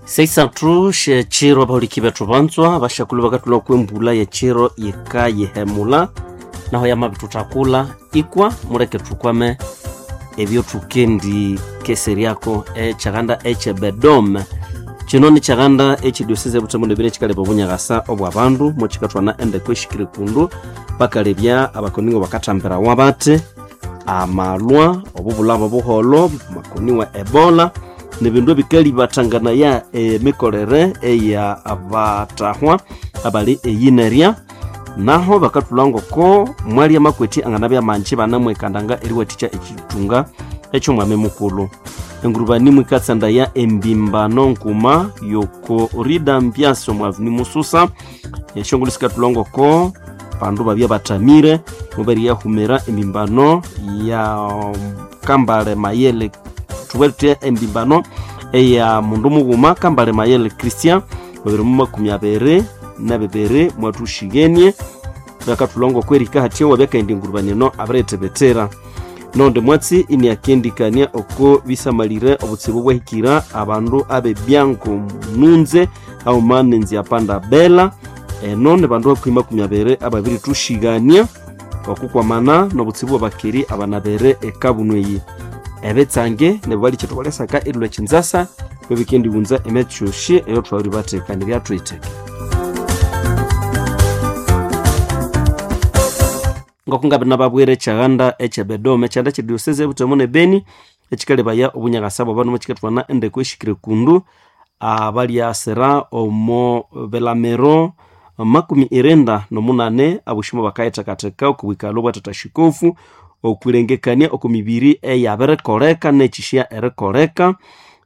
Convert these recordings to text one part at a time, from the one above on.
Seisathu syekiro abahuliki bethu banzwa bashakulu bakathulha kwembula yekiro yikayihemula naho yamabithuthakula ikwa muleke thukwame ebyo thukendi keseryako ekyaganda ekyebedome. Kino nikyaganda ekyediosese ebutembo nebini ekikaleba obunyakasa obwa bandu mukikathwana endeko ehikire kundu bakalebya abakoningo bakathambirawa bathi amalwa obubulabo obuholho makoniwa ebola nibindu ebikalibathanganaya emikolere eya abatahwa abali eyinerya. Naho bakathulha ngoko mwali amakweti anganabya manji banamwekandanga eriwathikya ekithunga ekyomwami mukulhu. Engurubani mwikatsandaya embimbano nkuma yoko rida mbyasi omu aveni mususa. Esyongulhu sikathulha ngoko bandu babya bathamire mubariyahumira embimbano ya Kambale Mayele, thubwere thuthi embimbano eya mundu mughuma Kambale Mayele Christian 2022 mwathuxighenie. Bakathulha ngoko erihika hathya wabyakaghenda engurubani eno abiriyithibitira. Nondi mwatsi iniakendikania oko bisamalire obutsibu bwahikira abandu ab'ebyango nunze haghuma n'enziapanda bela. Eno ni bandu hakuhi 20 ababirithuxigania okukwamana n'obutsibu bw'abakeri abanabere ekabunu eyi. Ebitsange nibo balikye thubalesaka erilhwa ekinzasa bebikendighunza emyatsi yosi eyothwabiribathekanirya thuyitheke. Ngoko ngabiri nababwira, ekyaganda ekyebedome ekyanda ekyediosese ebutembo nebeni ekikalebaya obunyakasa bw'abandu mukikathwana endeko ehikire kundu abalyasira omo bilamiro 98 abosi bakayithekatheka oko bwikalho bwa tata shikofu okwilengekania oko mibiri eyabirikoleka nekyisya erikoleka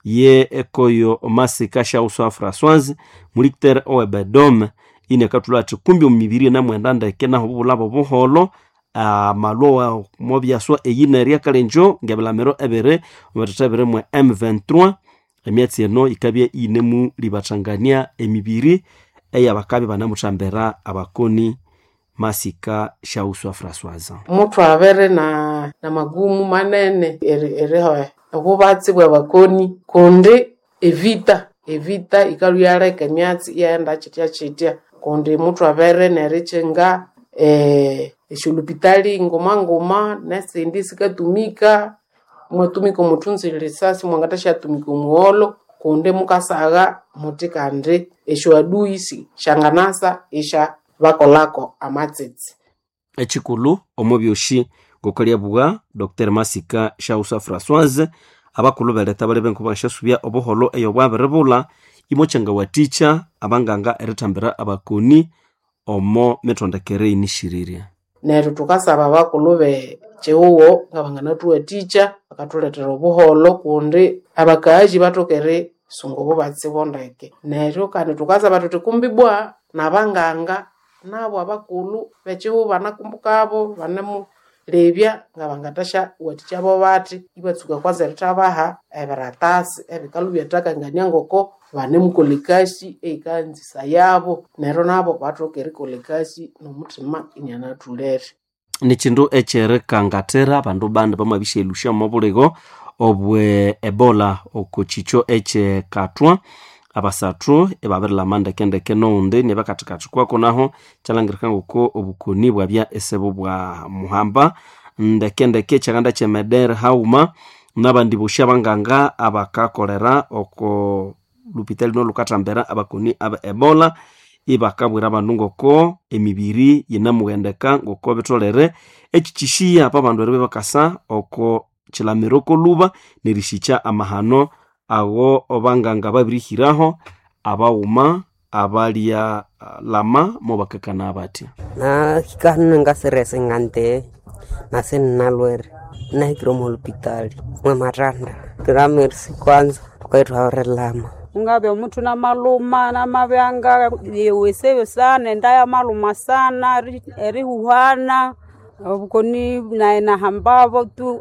ye ekoyo Masika Shauswa Françoise mulictere owebedome iniakathulha athi kumbi omu mibiri enamwenda ndeke naho obubulabo obuholho amalwa mobyaswa eyinerya kalenjo ngebilamiro ebiri omubittha ebiri mwe M23. Emyatsi eno yikabya iyinemulibathangania emibiri eyabakabya banamuthambira abakoni. Masika Shauswa Françoise. Muthwabere na magumu manene eriha obubatsi bwabakoni kundi evita evita ikalhwa iyaleka emyatsi iyaghenda kyitya kundi muthwabere nerikyinga esyolupitali nguma nguma nesindi sikatumika, mwatumika omuthunzi lisasi mwangathasytumika omugholo kundi mukasagha muthi kandi esyoaduyi syanganasa isya bakolako amatsitsi. Ekikulhu omo byosi ngokalyabugha Dr Masika Shausa Françoise, abakulhu beletha balebe ngoko bangasyasubya obuholho eyo bwabiribulha imo kyangawathikya abanganga erithambira abakoni omo mithondekere eyinishirire. Neryo thukasaba abakulhu bekyihugho ngabanganathuwathikya bakathulethera obuholho kundi abakaghazi bathoke erisunga obubatsi bondeke. Neryo kandi thukasaba thuthi kumbi ibwa nabanganga nabo abakulhu bekyihugho banakumbukabo banemulebya ngabangathasyawathikya bathi ibatsuka kwanza erithabaha ebiratasi ebikalhwa ibyathakanganĩa ngoko banemukolha ekasi eyikanzisayabo neryo nabo bathoke erikolha ekasi nomuthima inianathulere. Nikyindu ekyerikangathira abandu bandi bamabisyaghilhusya omo buligo obwe ebola oko kyikyo ekyekathwa abasathu ibabirilhama ndekendeke noghundi nibakathikathi kwako naho kyalhangirika ngoko obukoni bwabya isibu bwa muhamba ndekendeke. Ekyaganda kyemedere haghuma nabandi bosi abanganga abakakolera oko lupitali nolhukathambira abakoni abe ebola ibakabwira abandu ngoko emibiri yinamughendeka ngoko bitholere ekikyisiya pabandu eribya bakasa oko kilamiro kolhuba nerisikya amahano ago banganga babirihiraho abaghuma abalya lama mobakakana batya. Nahika hano ngasiresa ngante nase ninalwere nahikire omu holupitali mwamatanda turamerisi kwanza tukaithwabirilama. Ungabya omuthu namaluma namabyanga yewesebyo sana enda yamaluma sana erihuhana obukoni nayi nahambabo tu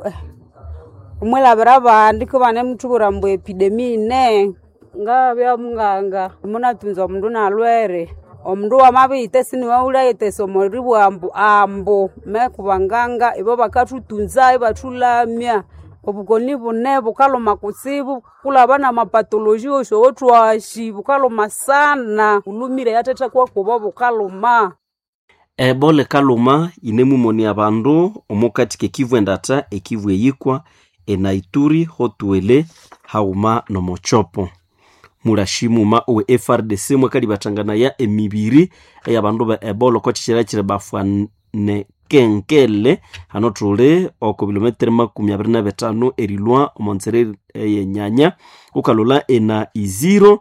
omwilhabira abandi kubanemuthubwira ambu epidemi yine. Ngabya munganga munathunza omundu inalwere, omundu wamabiyitesa siniwe wulhayithesa omoribugha ambu ambu me kubanganga ibo bakathuthunza ibathulamya. Obukoni bune bukaluma kutsibu kulaba na mapatoloji osi owotwashi bukaluma sana bulumire yathetha kwakubo bukaluma. Ebola ekaluma yinemumoni abandu omukati kekivu endata, ekivu eyikwa, enaituri, hotuele haghuma nomochopo. Mulashi muma owe FRDC mwakalibathanganaya emibiri eyabandu be Ebola oko kyikyira kyiri bafanekenkele hano thuli oko bilometero 25 erilwa omo nzira eyenyanya ukalolha ena Iziro.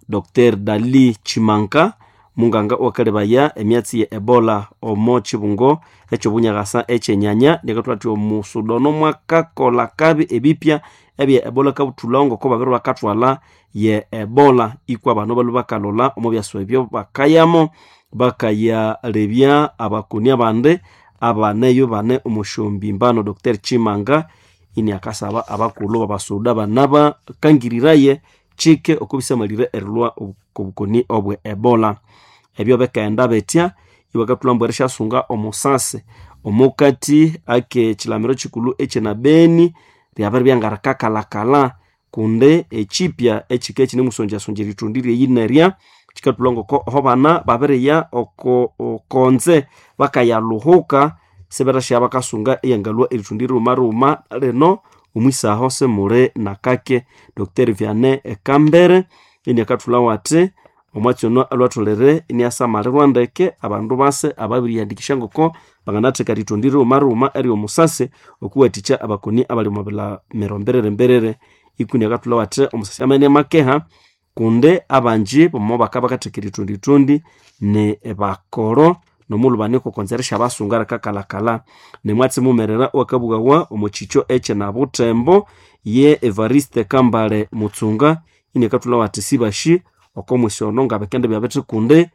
Dr Dali Chimanka munganga owakalebaya emyatsi ye Ebola omo kibungo eky'obunyakasa ekyenyanya nikathuwa athi omusudono mwakakolha kabi ebipya ebye Ebola kabuthulhawo ngoko babiri bakathwalha ye Ebola ikwa bano balhwe bakalolha omo byaswa ebyo bakayamo bakayalebya abakoni abandi abaneyo bane omo mbano. Dr Chimanga ini akasaba abakulhu babasuda banabakangiriraye kike okubisamalire erilhwa okobukoni obwe Ebola. Ebyo bikaghenda bitya ibakathulha ambu erisyasunga omusasi omukati ake kilamiro kikulhu ekyenabeni lyabiribya ngarikakalhakalha kundi ekipya ekika ekinemusonjasonja erithundi lyeyinerya kikathulha ngoko aho bana babiriya oko konze bakayalhuhuka siberesya bakasunga eyangalhwa erithundi righuma lino omwisaho simuli nakake. Dr Vianney Kambere iniakathulhawo athi omwatsi ono alhwatholere iniasamalirwa ndeke abandu base ababirihandikisya ngoko banganatheka erithundi righuma eryomusasi okuwathikya abakoni abali omo bilamiro mbiriri ikuni akathulhawo athi omusasi amene makeha kundi abanji bomo bakabya bakatheka erithundithundi ni bakoro nomulhu banikokonza erisyabasunga rikakalhakalha. Nimwatsi mumerera owakabughawa omo kikyo ekyenabuthembo ye Evariste Kambale Mutsunga iniakathulhawo athi sibashi oko mwisi ono ngabikendibya bithi kundi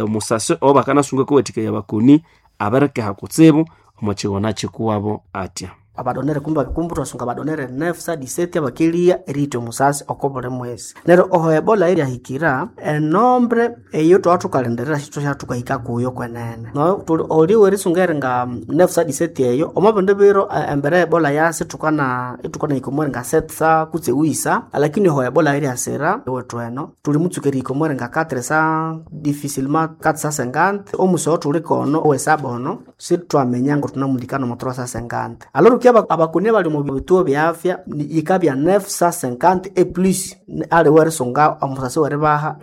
omusasi owabakanasunga akawathikaya abakoni abirikeha kutsibu omo kighona kikuwabo atya. Abadonere kumbi kumbi twasunga abadonere 917 abakelia erihitha omusasi oko buli mwezi. Neryo oho Ebola eryahikira enombre eyo thwaba thukalindirira sithwasya thukahika kuyo kwenene. No thuli oli werisunga eringa 917 eyo omo bindi biro embere ya Ebola yasi thukana ithukanahika omo eringa 700 kutse wisa, lakini oho Ebola eryasira ewethu eno thuli mutsuka erihika omo eringa 400 difficilement 450 omusi owo thuli kono owesaba ono sithwaminya ngo thunamulikana omo 350. Alors ki abakoni abali omu bituo bya afya yikabya 950 e plus aliwe erisunga omusasi weribaha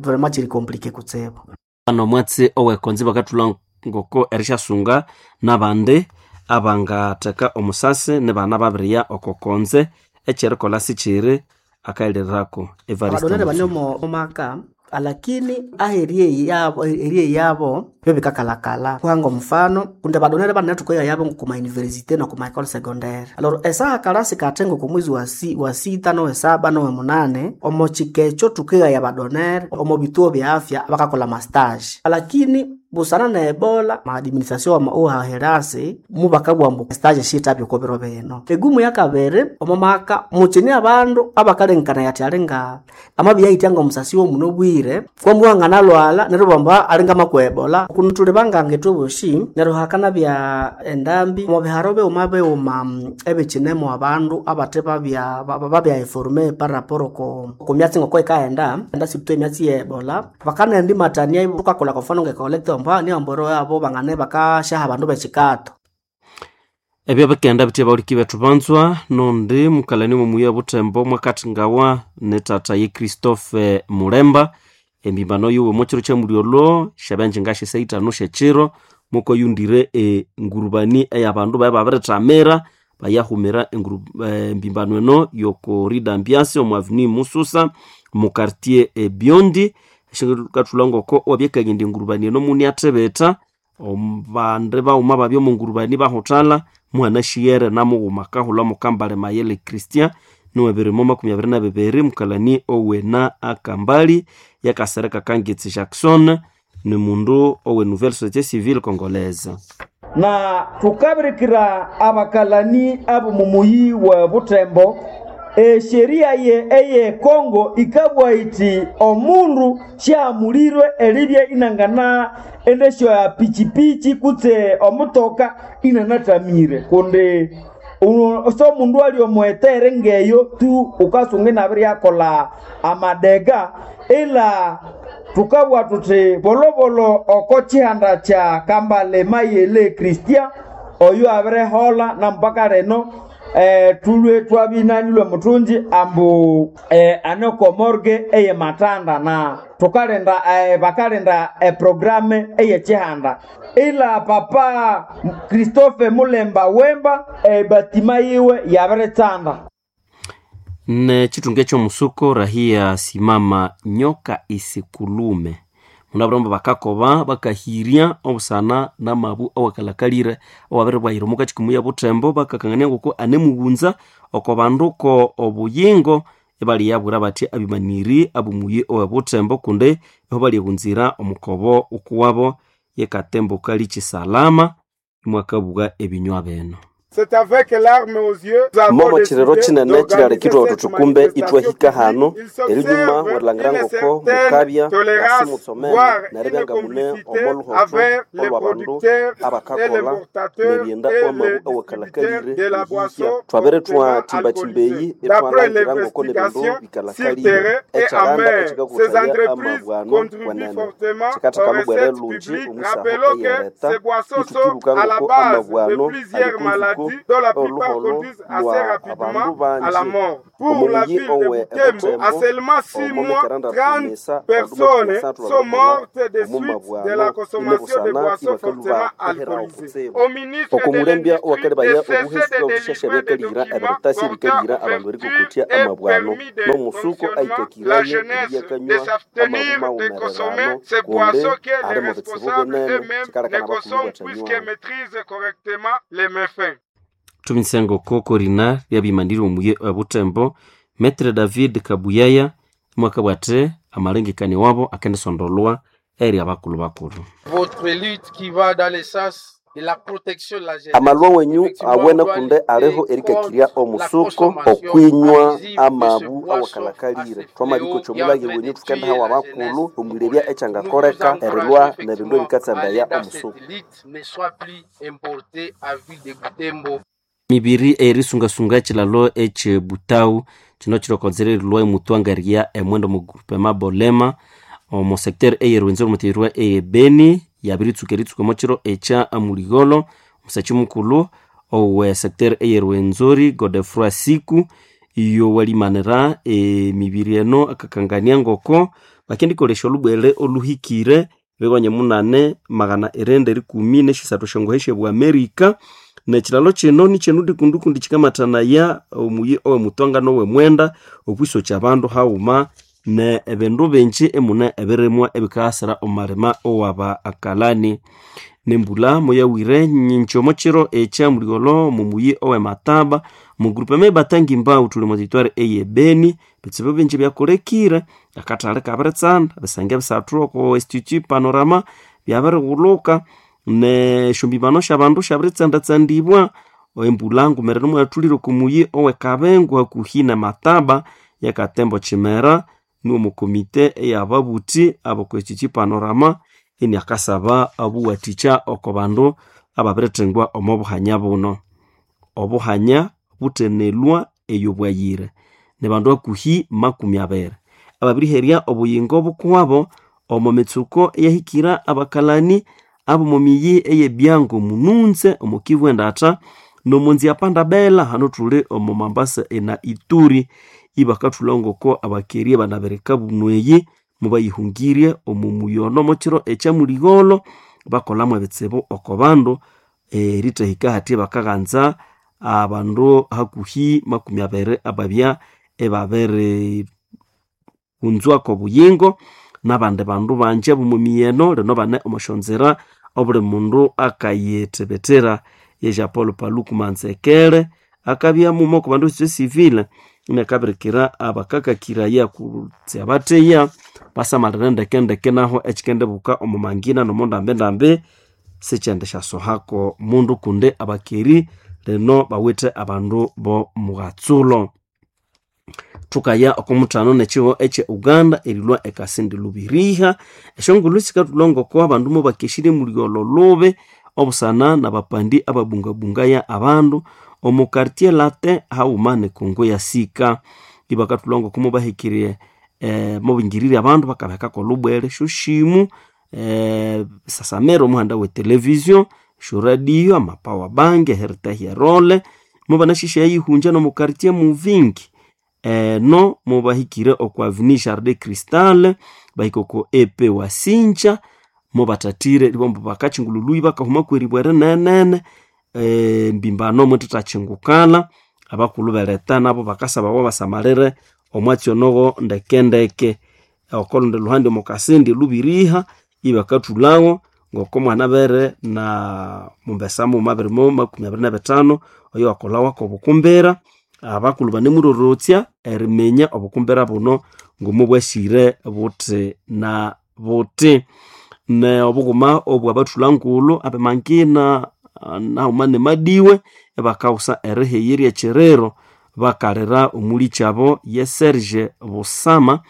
vraiment kiri compliqué kutsibu. Ano omwatsi owekonzi bakathulha ngoko erisyasunga nabandi abangatheka omusasi nibana babiriya oko konze ekyerikolha sikyiri akayilirako. Evariste Abadonere bane Mutsunga. omo maka alakini aheri yabo eri yabo byo bikakalakala kuhanga omufano kundi abadonere banene thukoya yabo kuma university no kuma école secondaire. Alors esaha kalasi kathengo kumwezi wa, si, wa sita nowe saba nowe munane omo kikekyo thukeghaya abadonere omo bituo bya afya bakakola mastage, alakini busana na Ebola maadministration ohaherasi mubakabugha ambu stage shithabya oko biro bino. Egumu yakabiri omo maka mukyine abandu abakalengekanaya athi alinga amabiyahitya ngomusasi womuno obwire kwambuha nganalwala neryo bamba alinga makwa Ebola kuno thuli banganga ithwe bosi neryo hakanabya endambi omo biharo bighuma bighuma ebikyinemo abandu abathe babya babya informe par rapport oko kumyatsi ngoko yikaghenda enda sirtu emyatsi ye Ebola bakanaghenda imatania thukakolha kwa mfano nge collecte amba niamboro yabo bangane bakasyaha abandu bekikato. Ebyo bikaghenda bitya bahuliki bethu banzwa nondi mukalani mwomuyi obuthembo mwakathingawa ne tata ye Christophe Mulemba embimbano yiwe omwakiro kyamulyolho syabya ngasya ithanu syekyiro mukoyundire engurubani eyabandu baye babirithamira bayahumira embimbano eno yoko Rida Ambiance omu avenue Mususa mu quartier Biondi. Kathulha ngoko owabyakagenda engurubani eno muniathibitha bandi baghuma babya omu ngurubani bahuthalha muhanashighere namughuma akahulha mukambale Mayele Christian niwebirimo 22 mukalani owena akambali yakasereka Kangitsi Jackson ni mundu owe Nouvelle Société Civile Congolaise. Na thukabirikira abakalani ab'omumuyi wa Butembo esheria ye eye Kongo ikabwa iti omundu syamulirwe eribya inangana endesyo ya pichipichi kutse omutoka inanathamire kundi So mundu ali omwetere ngeyo tu ukasunga inabiryakola amadega ila tukabwa tuthi bolobolo oko chihanda cha Kambale Mayele Christian oyo abirehola na mpaka leno tulwe twabinanilwe muthungi ambu ane oko morgue eye Matanda na tukalinda bakalinda eprograme eye chihanda ila papa Christophe Mulemba Wemba ebatima yiwe yabiritsanda. Ne chitunga ekyomusuko rahia simama nyoka isikulume munabiromba bakakoba bakahirya obusana namabu awakalakalire awabiribwahira omu kakikumu ya Butembo bakakangania ngoko anemughunza oko bandu ko obuyingo ibaliyabwira bathi abimaniri abumuyi owe Butembo kundi iho balyeghunzira omukobo ukuwabo yekatembo kali kisalama imwakabugha ebinywa bino. Momo chirero chinene chilalekithwa thuthi kumbe ithwahika hano erinyuma werilhangira ngoko mukabya ngasimutsomene neribya nga mune omo luhotho olwa bandu abakakolha neryenda wamabu awakalakalire erihikya. Thwabere thwathimbathimba eyi ithwalangira ngoko nebindu bikalakalire ekyalanda ekyikakuthaya amabu ano wenene kikatheka lubwere lungi omwisaho eyereta ithukibuka ngoko amabu ano ali kunzuko oluholo lwa abandu bangi omuyi owe Butembo omumikeranda tumisa bandu makumyasathu babirikolha omumabwano inebusana ibakalu baherawo kutsibu. Okumulembya owakalebaya obuhesi bw'obushasha byakalihira ebiritasi ebikalihira abandu erikokotya amabwano n'omusuko aikakiraye eriyakanywa amabu mawumererano kundi ali mu bitsibu binene kikalekana abakulu ibathanywawo. Thumitsengo kokorina lyabimanire omuye Butembo Metre David Kabuyaya mwakabwate amalengekania wabo akendisondolwa eri abakulhu bakulhu. Amalwa wenyu awene kundi aliho erikakirya omusuko okwinywa amabu awakalakalire. Thwamabikokya omulage wenyu thukendihawa abakulhu omwirebya ekyangakoleka erilwa nebindu ebikatsandaya omusuko. Mibiri erisungasunga ekilalo ekye Butau kino kirokonzere erilwa emutwangaria emwendo omu groupement Bolema omu secteur eye Rwenzori omu eye Beni yabiritsuka eritsuka omo kiro ekya Muligholo. Omusakyi mukulhu owe secteur eye Rwenzori Godefroid Siku iyo walimanira emibiri eno akakangania ngoko bakendikolesya olhubwele olhuhikire bighonye munane magana irenda erikumi nesisathu esyongohe syebwa Amerika. Nekilalo kino nikyenu kundu kundi kikamathanaya omuyi owe Mutwanga nowe Mwenda okwisokya abandu haghuma ne ebindu bingi emune ebirimwa ebikaghasira omu malima owaba akalani. Nembulha moyawire nyingi omo kiro ekya muligholo omu muyi owe Mataba omu groupement Batangi-Mbau thuli omo territoire eye Beni. Ebitsibu bingi byakolekire akathali kabiritsanda ebisenge bisathu oko Institut Panorama byabirighulhuka nesyombibano syabandu syabiritsanda-tsandibwa. Embulha ngumerere moyathulire oko muyi owe Kabengo hakuhi ne Mataba yakatembo Kimera niwo omukomite eyababuthi aboko Institut Panorama iniakasaba obuwathikya oko bandu ababirithengwa omo buhanya buno. Obuhanya buthenelwa eyo bwayire nibandu hakuhi makumi abiri ababiriherya obuyingo bukuwabo omo mitsuko eyahikira abakalani abomo miyi eye Byango Mununze omo Kivu endatha nomo nzia Pandabela hano thuli omo Mambasa ena Ituri. Ibakathulha ngoko abakeria banabirika bunu eyi mubayihungirye omo muyono omo kiro ekya muligholo bakolhamu ebitsibu oko bandu erithahika hathi bakaghanza abandu hakuhi makumi abiri ababya ibabiri hunzwako obuyingo nabandi bandu bangi abomo miyeno lino bane omo syonzira obuli mundu akayithibitira. Ye Jean Paul Paluku Manzekere akabya muma oko bandu société civile inakabirikira abakakakiraya kutse abatheya basamalire ndekendeke naho ekikendibuka omo mangina nomo ndambendambi sikyendisyasohako mundu kundi abakeri lino bawithe abandu bo mughatsulo. Thukaya oko muthano nekihugho ekye Uganda erilhwa ekasindi lubiriha. Esyongulhu sikathulha ngoko abandu mubakesirye muligholo lubi obusana nabapandi ababungabungaya abandu omu quartier Latin hauma ne Kongo ya sika. Ibakathulha ngoko mubahikirye mubingirire abandu bakabahekako olubwere shoshimu, sasamira omuhanda we television, shoradio, amapower bank, eheritahya erole, mubanashisha yihunja nomu quartier Muvingi. Eno mubahikire okwa Avenue Jardin Cristal, bahika oko EP Wasinja, mubathathire ibambu bakachingulului bakahuma kweribwa erinenene, mbimbano mwithathachingukala. Abakulhu beleta nabo bakasabawa basamalire omwatsi onogo ndekendeke. Okolundi luhandi omo Kasindi Lubiriha ibakathulhawo ngoko mwanabere na mumbesa mughuma 2025 oyo wakolhawako obukumbira. Abakulhu banemurorotsya eriminya obukumbira buno ngomubwasire buthi na buthi. Ne obughuma obwabathulha ngulhu abemangina nahuma ne Madiwe ibakawusa erihighirya ekyiriro bakalira omulikyabo ye Serge Busama.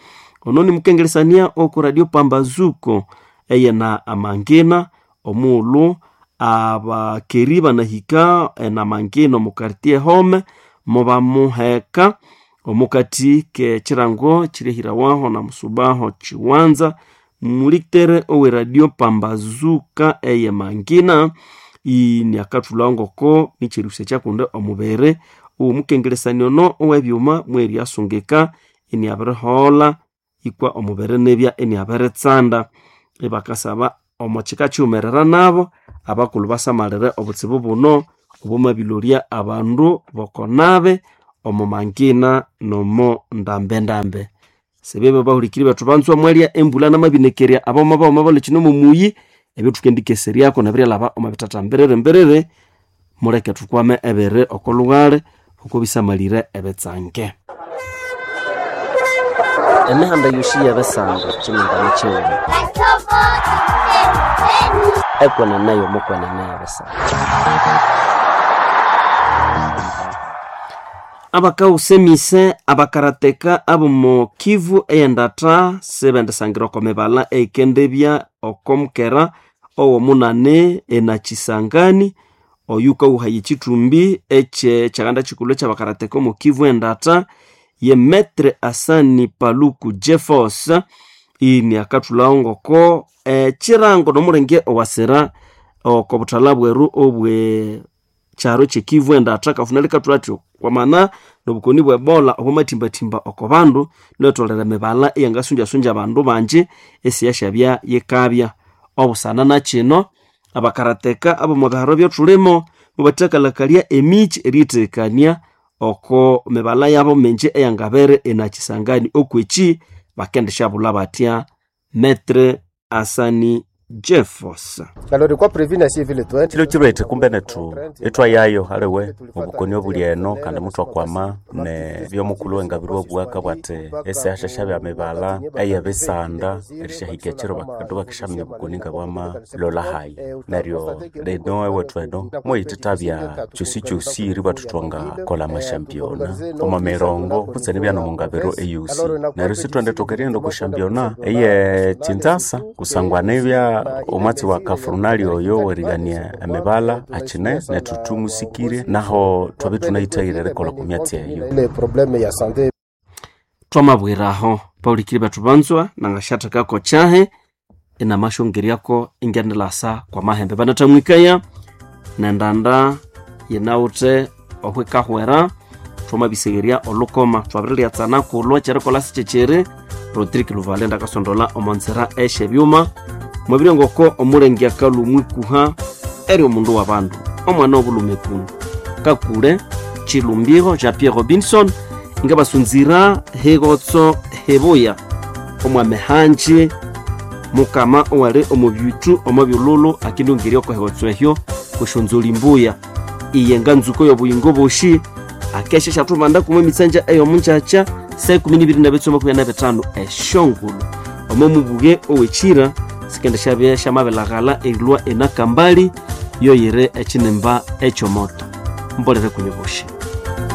Ono nimukengeresania oku Radio Pambazuko eyena amangina omughulhu abakeri banahika enamangina omu quartier Home mubamuheka omukati k'ekirango kirihirawaho na Musubaho Kiwanza. Mulitere owe Radio Pambazuka eye Mangina iniakathulha ngoko nikyerusya kyakundi omubiri omukengeresania ono owebyuma mweryasungika iniabiriholha ikwa omubiri nibya iniabiritsanda. Ibakasaba omo kika kiwumerera nabo abakulhu basamalire obutsibu buno obwamabilorya abandu bokonabe omo mangina nomo ndambendambe. Sibebe bahulikiri bethu banzwa mwalya embulha namabinekerya aboma baghuma balhwe kino mumuyi ebyo thukendikeseryako nebiryalhaba omo bithatha mbiriri mbiriri. Muleke thukwame ebiri oko lughali oko bisamalire ebitsange. Emihanda yosi yebisanga kyimingano kighuma ekwenene yomukwenene yebisanga. Abakawusa emise abakarateka abomo Kivu eyendatha sibendisangira oko mibalha eyikendibya oko mukera owomunani enakisangani oyu kawuhaya ekithumbi ekyekyaganda kikulhu ekyabakarateka omo Kivu endatha ye Metre Asani Paluku Jeffos. Iniakathulhawo ngoko ekirango nomulenge owasira oko buthalha bweru obwe kyaro kyekivu endatha kafuna likathulha athi kwamana nobukoni bwe Ebola obwamathimbathimba oko bandu lwetolere emibala eyangasunjasunja abandu bangi esiyasyabya yikabya. Obusana nakino abakarateka abomo biharo byothulimo mubathakalhakalya emikyi eriyithekania oko mibala yabo mingi eyangabere enakisangani okwekyi bakendishabulha batya. Metre Asani Jeffos. Kilo kilwethe kumbe nethu ithwayayo aliwe obukoni obuli eno kandi muthwakwama ne byomukulhu wengabirwa obuwaka bwathi esihashasha bya mibala eyebisanda erishahika ekiro bandu bakishaminya obukoni nga bwamalola hayi. Neryo lino ewethu eno mweyithithabya kyosikyosĩ eribwa thutwangakolha amashampiona omo mirongo kutse nibya nomungabiro eyosi. Neryo sithwendithoka erighenda okwa shampiona eye Kinshasa kusangwa nibya omwatsi wa kafurunali oyo werighania emibala akine nethu thumusikire naho thwabe thunayithayire erikolha okwa myatsi eyo. Twamabwiraho paulikiri bethu banzwa nangashathekako kyahe inamashongeryako ingendilasa kwa mahembe banathamwikaya nendanda yinawuthe ohwikahwera thwamabisegerya olukoma thwabirilyatsana kulwa kyerikolha sikyekyiri. Rodrigue Luvale ndakasondola omonzera esyebyuma mwabire ngoko omulenge akalumwikuha eri omundu wa bandu omwana obulhume kunu kakule Chilumbiro Jean Pierre Robinson ngabasunzira hegotso hebuya omwame hanji mukama owali omu byuthu omu byululu akindungirya oko hegotso ehyo kushonzoli mbuya iye nganzuko y'obuyingo boshi akesha syathubanda kumwe emitsanja ey'omungyakya saa 12:25 esyongulhu omo mubuge owekyira sikenda syabya syamabilaghala erilwa enakambali yoyire ekinimba ekyomoto mbolere kunyu boshi.